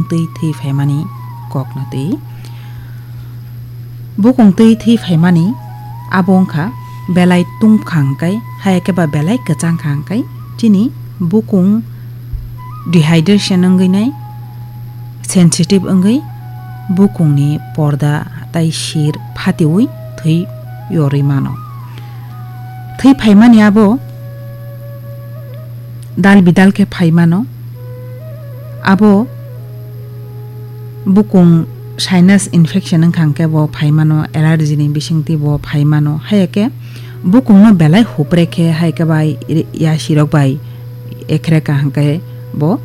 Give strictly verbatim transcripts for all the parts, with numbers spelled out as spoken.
twi thwi phaimani kokno twi. Bukung twi thwi phaimani abo wngkha belai tungkha hwnkhe, hai khe ba belai kwchang kha hwnkhe chini bukung dehydration wngwi nai, sensitive wngwi bukungni porda tai sir phatiwi thwi yorwi mano. Thwi phaimani abo dal bidal khe phai mano. Abo bukung sinus infection wngkha hwnkhe bo phai mano, allergy ni bisingtwi bo phai mano. Hai khe bukungno belai hupre khe hai khe bai yasirok bai ekhreka hwnkhe bo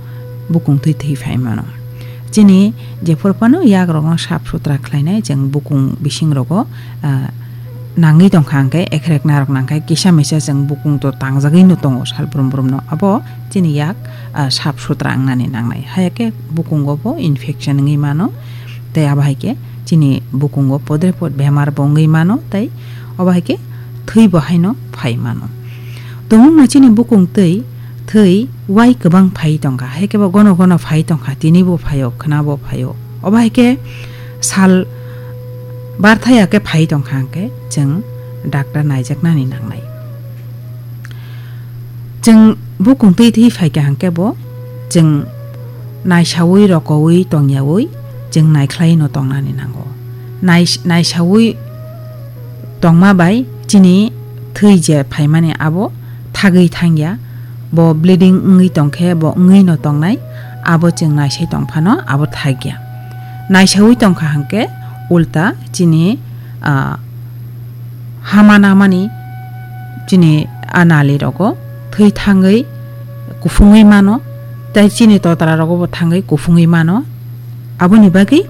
bukung twi thwi phai mano. Chini jephuru phano yakrokno sap sutra khlainai chwng bukung bisingrogo, ah, nangwi tongkha hwnkhe ekhrek narok nangkhe kisa misa chwng bukung to tangjagwino tongo sal brum brumno. Abo chini yak, ah, sap sutra wngnani nangnai. Hai khe bukungo bo infection wngwi mano. Tei abo hai khe chini bukungo podre pod bemar bo wngwi mano. Tei obo hai khe thwi bo haino phai mano. Tumungno chini bukung twi thwi wai kwbang phai tongkha. Hai khe bo gono gono phai tongkha. Tini bo phaio, khwna bo phaio. Obo hai khe sal barthaya khe phai tongkha hwnkhe chwng doctor naijaknani nangnai. Chwng bukung twi thwi phaikha hwnkhe bo chwng naisaui rokoui tongyaui chwng naikhlaino tongnani nango. Nais-, naisaui tongma bai chini thwi je phaimani abo thagwi thangya, bo bleeding wngwi tongkhe bo wngwino tongnai, abo chwng naisai tongphano abo thakya. Naisaui tongkha hwnkhe ulta chini, ah, hama namani chini a nali rogo thwi thangwi kuphungwi mano, tei chini totra rogo bo thangwi kuphungwi mano. Aboni bagwi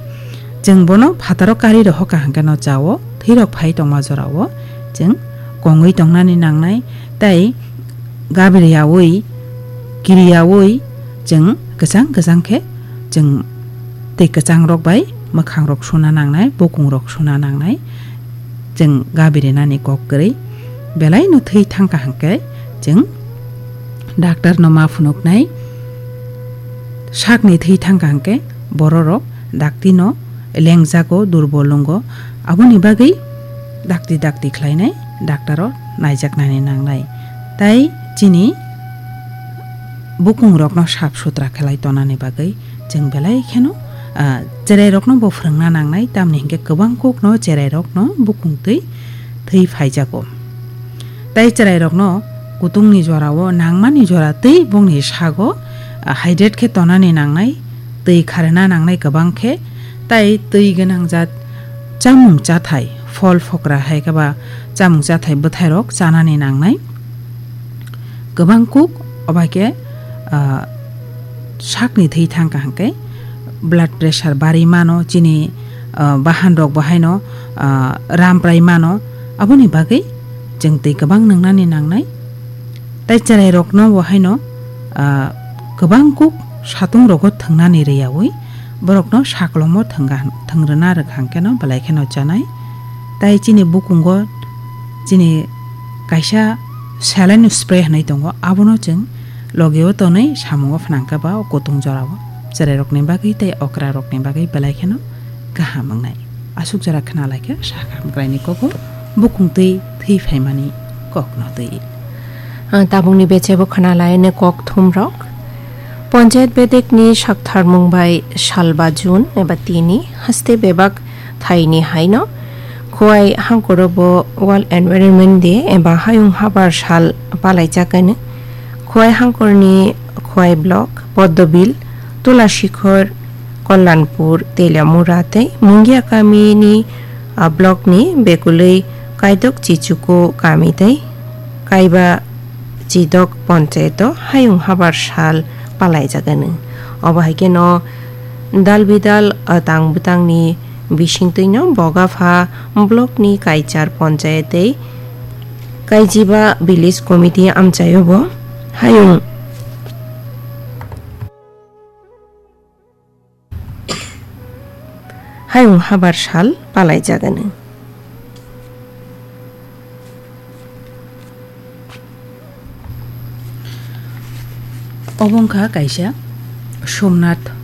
chwng bono phataro kari rohorkha hwnkhe no chao, thwirok phai tongma jorao chwng kongwi tongnani nangnai, tei gabiriyaui, kiriyaui chwng kwchang kwchang khe chwng tei kwchangrok bai mwkhangrok suna nangnai, bukungrok suna nangnai. Chwng gabirinani kok kwrwi belaino thwi thangkha hwnkhe chwng doctor no ma phunuknai. Sakni thwi thangkha hwnkhe bororok dakti no lengjago, durbol wngo, aboni bagwi dakti dakti khlainai doctor o naijaknani nangnai. Tai chini bukungrokno sap sutra khlai tonani bagwi chwng belai kheno, ah, cherairokno bo phwrwngna nangnai, tamni hinkhe kwbang kokno cherairokno bukung twi thwi phaijago. Tai cherairokno kutungni jorao nangmani jora twi bongni sago, ah, hydrate khe tonani nangnai, twi kharwna nangnai kwbang khe, tai twi gwnang jat chamung chathai, phol phokra hai khe ba chamung chathai bwthairok chanani nangnai. Kwbang kuk obo hai khe, ah, sakni thwi thangkha hwnkhe blood pressure barwi mano, chini, ah, bahan rok bo haino, ah, ramprai mano, aboni bagwi chwng twi kwbang nwngnani nangnai. Tai cherairokno bo haino, ah, kwbang kuk satung rogo thwngnani rwyaui borokno saklomo thwngna, thwngrwna rwkha hwnkhe no belai kheno chanai. Tai chini bukungo chini kaisa saline spray hinwi tongo, abono chwng logio tonwi samungo phnangkha ba o kutung jorao cherairokni bagwi tei okrarokni bagwi belai kheno kaham wngnai. Aswk jora khna lai khe sakha hamkraini kogo bukung twi thwi phaimani kokno twi. Ah, tabukni bechebo khna lai ne kok thumrok. Ponchayat bedekni saktharmung bai salba June eba tini haste bebak thaini haino Khowai hangkoro bo World Environment Day eba Hayung Habar Sal palaijak kani. Khowai hangkorni Khowai Block, Poddobil, Tulasikhor, Kalyanpur, Teliamura tei Mungia kamini, ah, blockni bekulwi Kaidok Chichuku kami tei Kaiba Chidok ponchayato Hayung Habar Sal palaijagani. Obo hai kheno dal bidal, ah, tang bwtangni bisingtwino Bogapha blockni Kaichar ponchayat tei Kaijiba Village Committee amchaio bo Hayung Hayung Habar Sal palaijagani. Obo wngkha kaisa Somnath